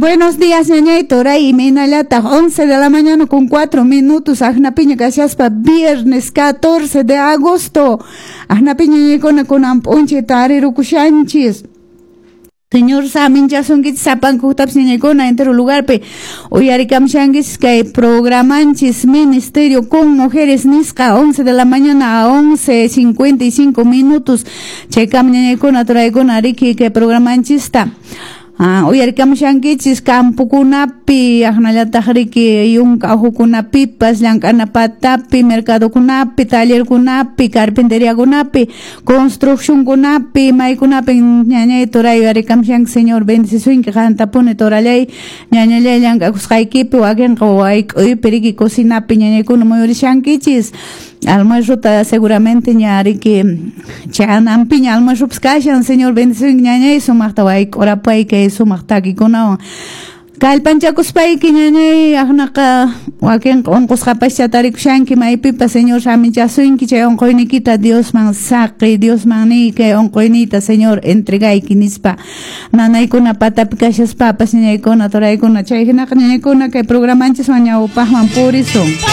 Buenos días, ñañay Toray y Minalata, 11 de la mañana con 4 minutos, Ajnapiña Casiaspa, viernes 14 de agosto. Ajnapiña ñañaykuna kunan p'unchay tarirukushanchis. Señor saminchasunkichis sapankuktapas ñañaykuna entero lugarpi uyarikamshankichis kay programanchis Ministerio con Mujeres nisqa 11 de la mañana a 11:55 minutos. Chaykam ñañaykuna turaykuna riki kay programanchista. Uyarikamshankichis campokunapi, aqnallataq riki yunka uhukunapipas, llank'ana patapi, mercadokunapi, tallerkunapi, carpinteriakunapi, construccionkunapi, maykunapi ñañay turay uyarikamshanki. Señor bendecisunki qantapuni turallay, ñañallay llank'akusqaykipi, wakinqa wayk'uypi riki cocinapi ñañaykuna muyurishankichis. Almuerzuta seguramente ña riki chananpiña almuerzupas kashan. Señor bendecisunki ñañay, sumaqta wayk'urapay kay sumaq takikunawan. Kallpanchakuspayki ñañay, aqnaqa wakinqa unqusqapascha tarikushanki maypipas. Señor saminchasunki, chay unquyniykita Diosman saqi, Diosman niy kay unquyniyta Señor entregayki nispa. Nanaykuna patapi kashaspapas ñañaykuna turaykuna, chay hinaqa ñañaykuna kay programanchiswan ñawpaqman purisun.